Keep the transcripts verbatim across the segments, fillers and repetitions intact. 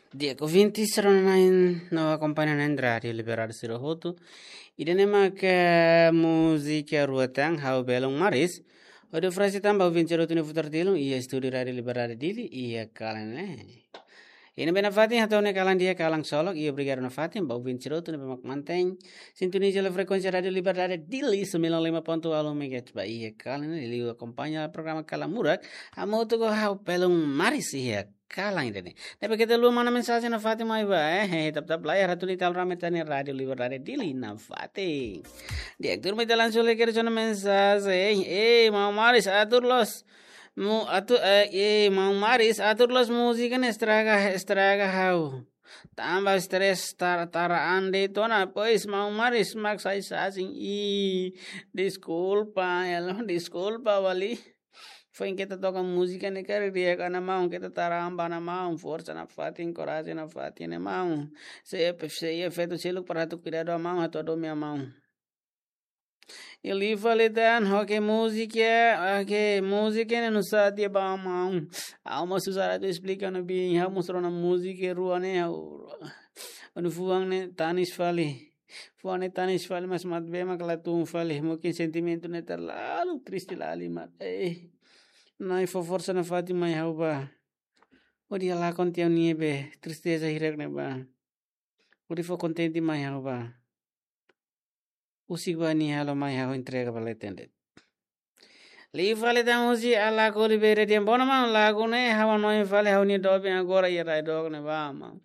Di'ak, ouvinte sira-na'in no akompaña na'in Rádiu Liberdade sira hotu. Ida-ne'e mak múzika rua tan, Ha'u Belun Maris. Hodi oferese tan ba ouvinte sira hotu ne'ebé futar tilun iha estúdiu Rádiu Liberdade Dili iha kalan ne'e. Iha ne'ebé nafatin hato'o nia kalan di'ak, kalan ksolok, i obrigadu nafatin ba ouvinte sira hotu ne'ebé mak mantein sintoniza hela frekuénsia Rádiu Liberdade Dili sembilan lima ponto nol megahertz ba iha kalan ne'e, liuliu akompaña programa Kalan Murak, hamutuk ho Ha'u Belun Maris iha kalan ida-ne'e. Ne'ebé keta haluha manda mensajen nafatin mai ba, eh, eh, tap tap layar atu ni tal rame tani Rádiu Liberdade Dili nafatin. Di'ak, turma ita langsung lai kedas ona mensajen, eh, eh, maun Maris, atur loos, mu-, atu, eh, eh, maun Maris, atur loos múzika ne'e estraga, estraga ha'u. Tanba stress tar-, tara an de'it ona, pois maun Maris mak sai sasin. Ih, deskulpa, ya lo, deskulpa, vale. Foin keta toka múzika ne'e karik di'ak, ana maun, keta tara an ba ana maun, forsa nafatin, korajen nafatin, ne'e maun. Sei, sei efeitu seluk para atu kuidadu maun, atu hadomi maun. Liu fali tan, oke, múzika, oke, múzika ne'e nusá tiha ba maun. Ha'u mós susar atu esplika ona, bin, ha'u mós rona múzika rua ne'e, ha'u, ha'u-nia fuan ne'e tanis fali. Fuan ne'e tanis fali, mas maibé mak la tun fali. Mungkin sentimentu ne'e terlalu triste la lima. Eh, Na'i fó forsa nafatin mai ha'u ba. Hodi halakon tiha ha'u-nia be tristeza hirak ne'e ba. Hodi fó kontente mai ha'u ba. Husik ba nia halo mai ha'u entrega ba leten de'it. Liu fali tan husi Alaco Oliveira dehan: Bona maun, lagu ne'e ha'u hanoin fali ha'u-nia doben agora iha rai dook ne'e ba maun.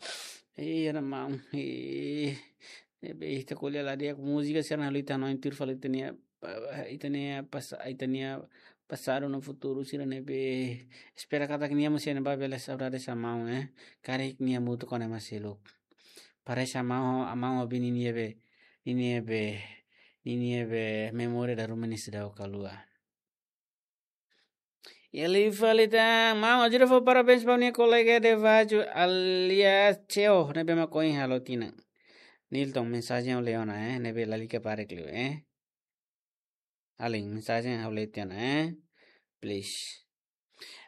Ih, ana maun. Ih. Ne'ebé ita ko'alia la di'ak, múzika sira-ne'e halo ita hanoin tuir fali ita-nia, pa-, ita-nia pas-, ita-nia pasadu no futuru sira ne'ebé. Espera katak nia mós iha ne'ebá bele saudade sá maun, eh. Karik nia hamutuk ho ema seluk. Parese maun, maun ho bin ninia be, ninia be, ninia be memória dala ruma ne'e seidauk haluha. Liu fali tan, maun, ajuda fó parabéns ba nia kolega de Vaju alias Ceo, ne'ebé mak ohin halo tinan. Nilton, mensajen ha'u lee ona, eh, ne'ebé lalika parek liu, eh. Alin, mensajen ha'u lee tiha ona, eh. Please.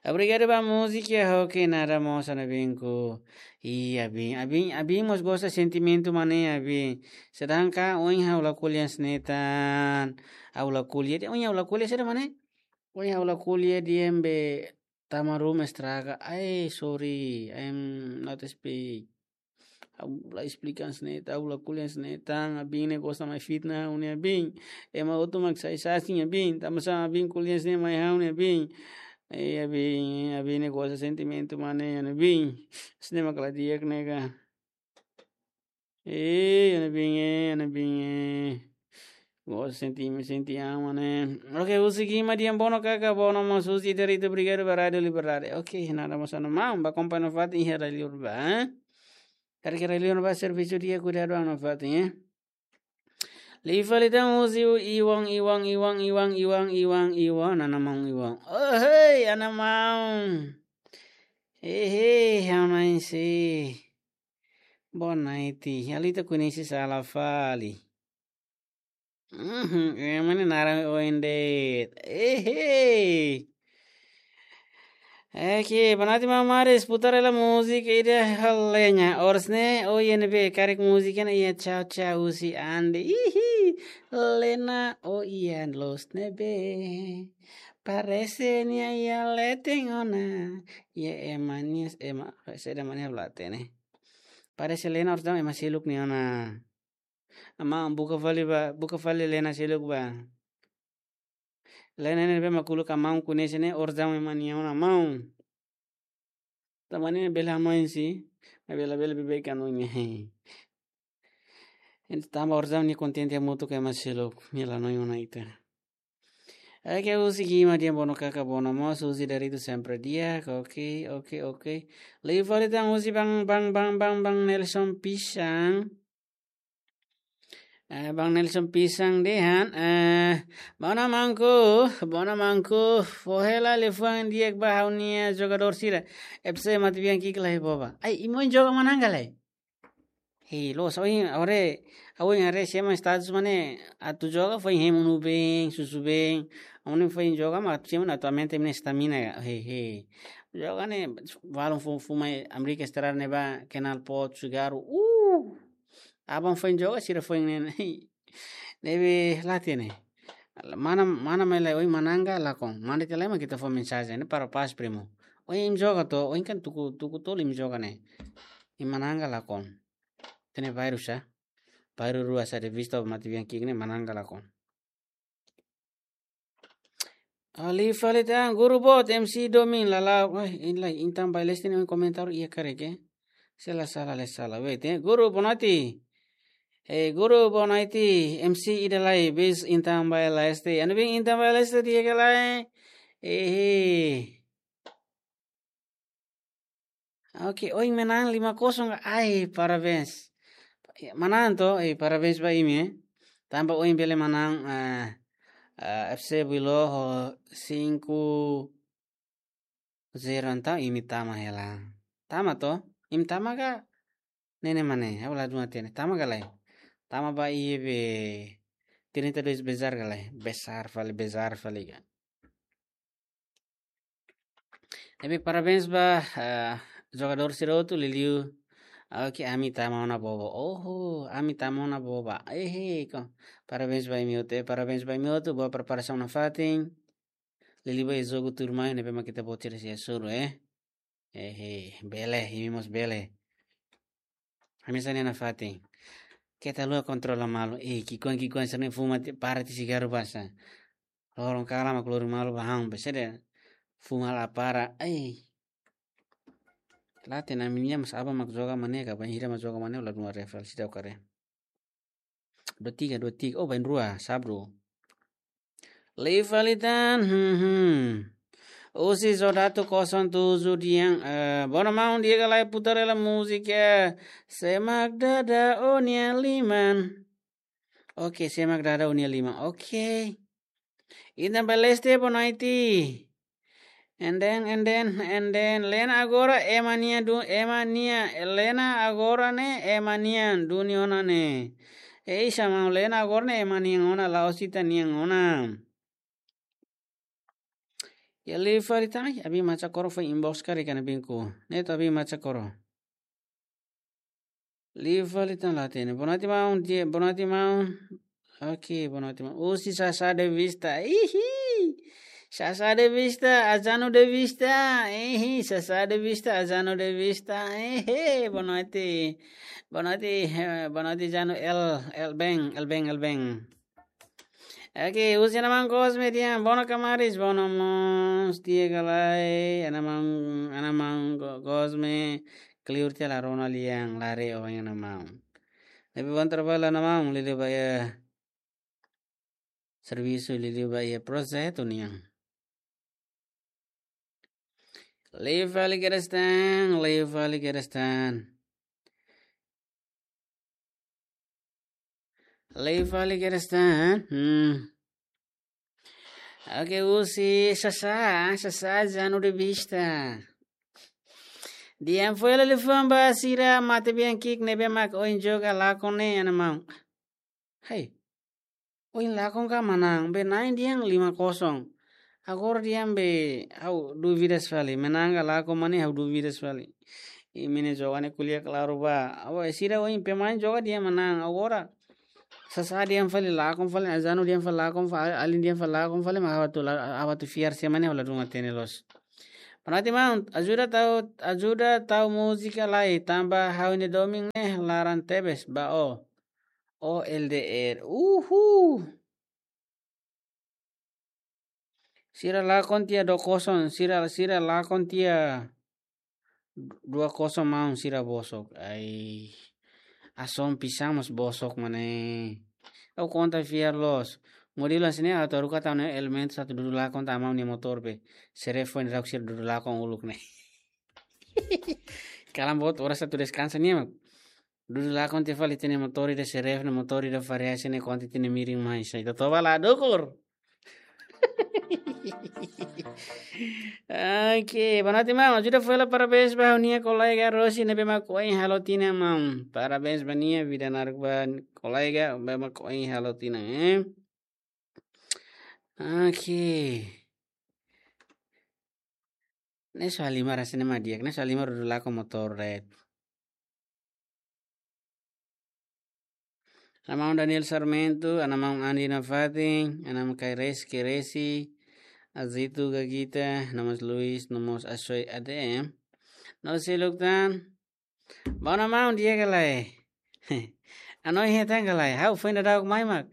Obrigadu ba múzika, oke, nada mós, ana binku. Ih, abin, abin, abin mós gosta sentimentu mak ne'e, abin. Sedangkan ohin ha'u la ko'alia hanesan ne'e tan. Ha'u la ko'alia, ohin ha'u la ko'alia saida mak ne'e? Ohin ha'u la ko'alia dehan be tama ruma estraga. Ai, sorry, I'm not speak. Ha'u la esplika hanesan ne'e tan, ha'u la ko'alia hanesan ne'e tan, abin ne'e gosta mai fitna ha'u-nia bin. Ema hotu mak sai sasin abin, tanba sá abin ko'alia hanesan ne'e mai ha'u-nia bin. Eh, abin, abin ne'e gosta sentimentu mak ne'e, ana bin. Hanesan ne'e mak la di'ak ne'e ka. Eh, ana bin, eh, ana bin, eh. Gosta senti, senti an mak ne'e. Oke, husi Guima dehan: Bona kaka, bona maun, husi Darito, obrigadu ba Rádiu Liberdade. Oke, nada mós, ana maun, ba akompaña nafatin iha rai liur ba, eh? Karik iha rai liur ba servisu di'ak, kuidadu an nafatin, eh? Liu fali tan husi Iwan, Iwan, Iwan, ana maun Iwan. Oh, hei, ana maun. Eh, hei, ha'u-nia si. Boa noite. Ha'u la koñese sala fali. Mhm, ema ne'e naran oin de'it. Ehe. Oke, boa noite maun Maris, putar hela múzika ida ho lenha. Orsida ne'e, o I N B, karik múzika ne'e iha Tchau Tchau husi Ande. Ihi, lena o ian los ne'ebé. Parese nia iha leten ona. Iha ema nia, ema, saida mak ne'e ha'u la hatene. Parese lena orsida ema seluk nia ona. Maun buka fali ba, buka fali lena seluk ba. Lena ne'ebé mak uluk maun koñese ne'e orsida ema nia ona maun. Tanba ne'e bele hanoin si, maibé labele beibeik hanoin ne'e. Entaun tanba orsida nia kontente hamutuk ho ema seluk, nia la hanoin ona ita. Oke, husi Guima dehan: Bona kaka, bona maun, husi Darito sempre di'ak, oke, oke, oke. Liu fali tan husi Bang, Bang, Bang, Bang, Bang Nelson Pisang. Eh, Bang Nelson Pisang dehan, eh, bona maunku, bona maunku, fó hela liafuan di'ak ba ha'u-nia jogadór sira. F C Matebian ki'ik lai boba. Ai, imi ohin joga manán ka lae? Hei, loos, ohin, ore, ha'u ohin haree sira-nia status mak ne'e, atu joga foin hemu nubeen, susu been. Ohin foin joga mak sira-nia atualmente imi-nia stamina ka. Hei, hei. Joga ne'e, balun fu-, fuma Amérika Estrada ne'ebá, Canal Port, Cigarro. Uh! Aban foin joga, sira foin ne'e. Ne'ebé la hatene. Mana, mana mai lai, oi, manán ka lakon. Manda tiha lai mak ita fó mensajen ne'e para paz, primo. Oi, imi joga to, oi, kan tuku, tuku tolu imi joga ne'e. Imi manán ka lakon. Hatene bairru sá. Bairru rua sá de vista matebian ki'ik ne'e manán ka lakon. Ali fali tan, guru boot, M C Domin, lala, wah, ini lai, Intan Baileste ne'e komentar iha karik, eh. Se la sala, la sala, wait, eh. Guru, boa noite. Eh, guru, boa noite, M C ida lai, bis Intan Baileste. Anu bin Intan Baileste di'ak ka lae. Eh, eh. Oke, oin manán lima kosong. Ai, parabéns. Manán to, eh, parabéns ba imi, eh. Tanba oin bele manán, eh, eh, F C Bilo ho cinco zero entaun imi tama hela. Tama to? Imi tama ka? Ne'e mak ne'e, ha'u ladún hatene. Tama ka lae? Tama ba iha be trinta e dois Besar ka lae? Besar fali, Besar fali ka. Tapi parabéns ba, eh, jogadór sira hotu, liuliu. Oke, ami tama ona boba. Oho, ami tama ona boba. Ehe, ko. Parabéns ba imi hotu, eh, parabéns ba imi hotu, boa preparasaun nafatin. Liuliu ba jogu tuirmai ne'ebé mak ita-boot sira sei hasoru, eh. Ehe, bele, imi mós bele. Ami hanesan ne'e nafatin. Keta haluha kontrola malu. Eh, ki'ikoan, ki'ikoan sira-ne'e fuma tiha, para tiha sigarru basa. Loron kalan mak lori malu ba han, besede fuma la para. Ai. La hatene ami-nia mas aban mak joga mane ka, bainhira mak joga mane, la dua refal, sida ukare. Dua tiga, dua tiga. Oh, bainrua, sabru. Lei fali tan, hmm, hmm. Husi Zodatu kosong tujuh di'ak, eh, bono maun di'ak ka lae, putar hela múzika. Semak dada ó-nia liman. Oke, semak dada ó-nia liman. Oke. Intan Baileste, boa noite. And then, and then, and then, Lena agora ema nian du-, ema nian, Lena agora ne'e ema nian duni ona ne'e. Ei, xamau Lena agora ne'e ema nian ona, la'ós ita nian ona. Ya, lei fali tan, ai, abin macha koro foin inbox karik ka ne'e binku. Ne'e to abin macha koro. Lei fali tan la hatene. Boa noite, maun. Dia, boa noite, maun. Oke, boa noite, maun. Husi Sasá de Vista. Ihi. Sasá de Vista, Ajano de Vista. Ihi, Sasá de Vista, Ajano de Vista. Ihi, boa noite. Boa noite, eh, boa noite, Jano. El, el ben, el ben, el ben. Oke, husi Ana Maun Cosme di'ak, bono kamaris, bono mós, di'ak ka lae, Ana Maun, Ana Maun Co-, Cosme, kleur tiha la rona lian, la haree oan Ana Maun. Ne'ebé bom trabalho Ana Maun, liuliu ba iha servisu, liuliu ba iha projetu nian. Lei fali kedas tan, lei fali kedas tan. Lei fali kedas tan. Hmm. Oke, husi Sasá, Sasá Jano de Vista. Di'ak foin hela liafuan ba sira matebian ki'ik ne'ebé mak oin joga lakon ne'e, Ana Maun. Hai. Oin lakon ka manán, be na'in di'ak lima kosong. Agora di'ak be ha'u dúvidas fali, manán ka lakon mane ha'u dúvidas fali. Imi-nia joga ne'e ko'alia klaru ba. Awa, sira oin pemain joga di'ak manán. Agora Sasá di'ak fali lakon fali, Ajano di'ak fali lakon fali, alin di'ak fali lakon fali, mak ha'u atu la-, ha'u atu fiar sé mak ne'e ha'u ladún hatene loos. Boa noite, maun, ajuda tau, ajuda tau múzika lai, tanba ha'u-nia domin ne'e laran tebes ba ó. Ó L D R. Uhul. Sira lakon tiha dua kosong, sira, sira lakon tiha dua kosong maun, sira bosok. Ai. Ason pisang mós bosok mak ne'e. Ó konta fiar loos. Modelu hanesan ne'e atu haruka tau ne'e elementu atu dudu lakon tiha maun nia motór be. Seref foin rau sira dudu lakon uluk ne'e. Kalan boot oras atu deskansa nian mak. Dudu lakon tiha fali ita-nia motór ida seref ne'e, motór ida variasi ne'e, konta ita-nia mirin mai sai. Totoba la dukur. Oke, boa noite, maun. Ajuda foin hela parabéns ba ha'u-nia kolega Rosi ne'ebé mak oin halo tinan, maun. Parabéns ba nia, vida naruk ba kolega ne'ebé mak oin halo tinan, eh. Oke. Ne'e só halimar hanesan ne'e mak di'ak, ne'e só halimar dudu lakon motór de'it. Ana maun Daniel Sarmento, ana maun Andi nafatin, ana maun Kaires Keresi, Azitu Gagita, no mós Luis, no mós Asoy A D M. No seluk tan. Bom, ana maun, di'ak ka lae? Hanoin hetan ka lae? Ha'u foin daudauk mai mak,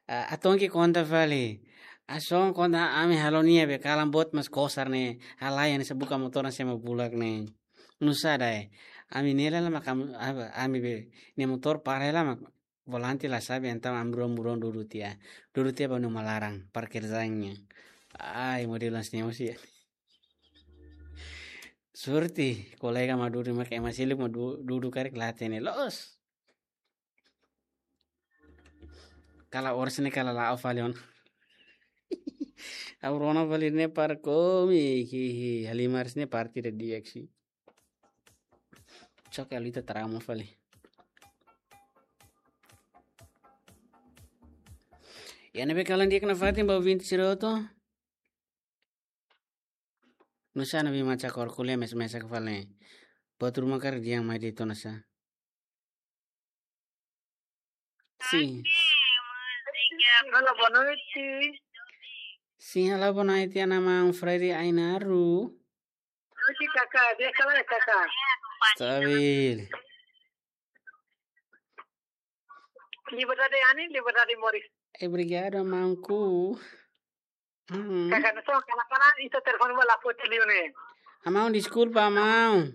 ah, hatene konta fali. Hanesan konta ami halo nia be kalan boot mas kosar ne'e. Halai hanesan buka motór hanesan ema bulak ne'e. Nusá dae? Ami ne'e hela mak am-, apa, ami be, nia motór para hela mak volante la xave, entaun ami rua-rua dudu tiha. Dudu tiha ba uma laran, parkir zainnya. Ai, modelu hanesan ne'e mós iha. Sorte, kolega mak dudu mak ema seluk mak du-, dudu karik la hatene loos. Kala oras ne'e kala la'o fali ona. Ha'u rona fali ne'e para komi, hihi, halimar hanesan ne'e partida di'ak sih. Choke alita trauma fali. Iha ne'ebé kalan di'ak nafatin ba ouvinte sira hotu. Nusá ne'ebé mak cakor kuliah mes-mesak fali. Buat ruma karik dehan mai de'it ona sá. Sim. Halo, boa noite. Sim, halo, boa noite, ana maun Freddy Ainaru. Noite, Kaká. Di'ak ka lae, Kaká? Stabil. Liberdade Ani, liberdade moris. Eh, obrigado, maunku. Hmm. Kaká, nusá, kalan-kalan ita telefone ba la foti liu ne'e. Amaun, deskulpa, amaun.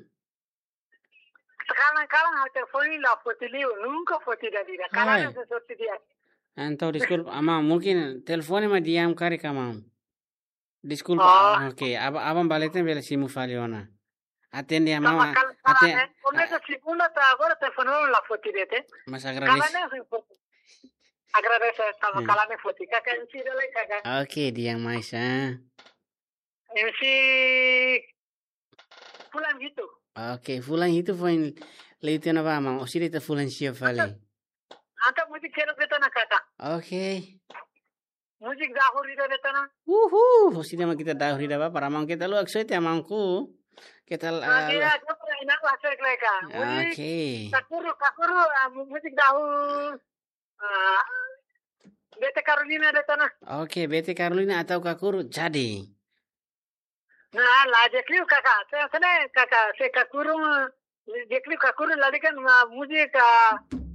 Kalan-kalan ha'u telefone la foti liu, nunka foti ida-idak. Kalan Ai. hanesan sorte di'ak. Entaun, deskulpa, amaun, mungkin telefone mak di'ak karik, amaun. Deskulpa. Oh. Oke, aban, aban bá leten bele simu fali ona. Atende, amaun, Sama ah, kal-, kalan, aten-, eh. Komesa segunda to'o agora telefone la foti de'it. Mas agradese. Kalan ne'e foti. Agradese, sama Hmm. kalan ne'e foti. Kaká M C ida lai, Kaká. Oke, di'ak mai sá. M C fulan hitu. Oke, fulan hitu foin leten ona ba, amaun. Orsida ita fulan sia fali. Entaun múzika sira de'it ona, Kaká. Oke. Múzika dahur ida de'it ona. Uhu, orsida mak ita dahur ida ba, para amaun keta luak soe te amaunku. Keta, ah, Oke, lu- ya, coba enak lah, saya kira, Kaká. Múzika Oke. Kakuru, Kakuru, ah, mu-, múzika dahur. Ah, Bete Carolina de'it ona. Oke, Bete Carolina atau Kakuru, jadi. Nah, la di'ak liu, Kaká. Se, se ne'e, Kaká, se Kakuru, di'ak liu Kakuru, la di'ak kan, ma, múzika,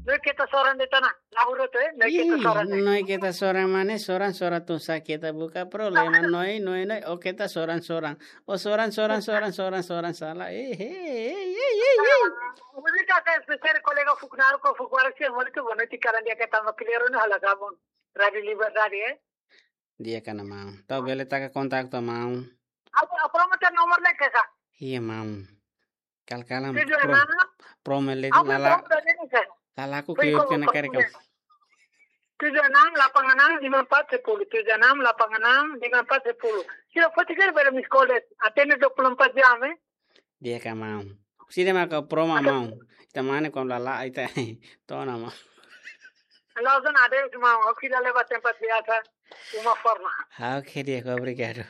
Noi Keta Soran de'it ona. Dahur hotu, eh, Noi Keta Ih, Soran, eh. Noi Keta Soran mak ne'e, soran, soran tun sá keta buka problema. Noi, noi, noi, o keta soran, soran. O soran, soran, soran, soran, soran, sala. Eh, eh, eh, eh, eh, eh. Múzika ke espesiál kolega Fuknaro ko Fukwara se, múzika boa noite, kalan di'ak ke tama klero no hala gabon. Rádio Liberdade, eh. Di'ak, ana maun. Entaun bele taka kontaktu, maun. Apa, apa nomor, nomor lagi, Kaká? Iya, maun. Kal-kalan Tujuh pro-, enam. Promo le Apa lala, nomor tadi ni, Kaká? Lalaku Fui kiur kau kena kau kari punya. Kau. Tujuh enam delapan enam lima empat sepuluh. Tujuh enam delapan enam lima empat sepuluh. Sira foti karik bele miss call de'it. Atende dua puluh empat jam, eh. Di'ak ka, maun? Sira maka promo, Ada. Maun. Ita mane kom lala ita. Tona, maun. Langsung ada, maun. Oke, dah lewat tempat biasa. Uma forma. Oke, di'ak, obrigadu.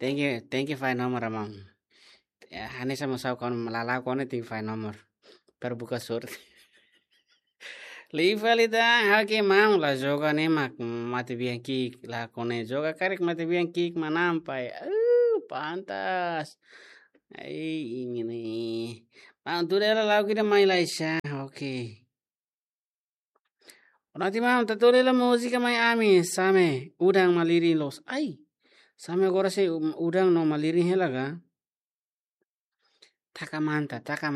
Thank you, thank you, fai nomor, maun. Ya, hanesan maun sá kon lala kone ting fai nomor. Per buka sorte. Liu fali tan, oke, maun, la joga ne'e mak matebian ki'ik, la kone joga karik matebian ki'ik manán, pai. Uh, pantas. Ai, ini nih. Maun, tuda hela lagu ida mai lai sá, oke. Ona ti maun, atu hela múzika mai ami, same, udan malirin loos. Ai, same agora sei, um, udan no malirin hela ka? Taka manta, taka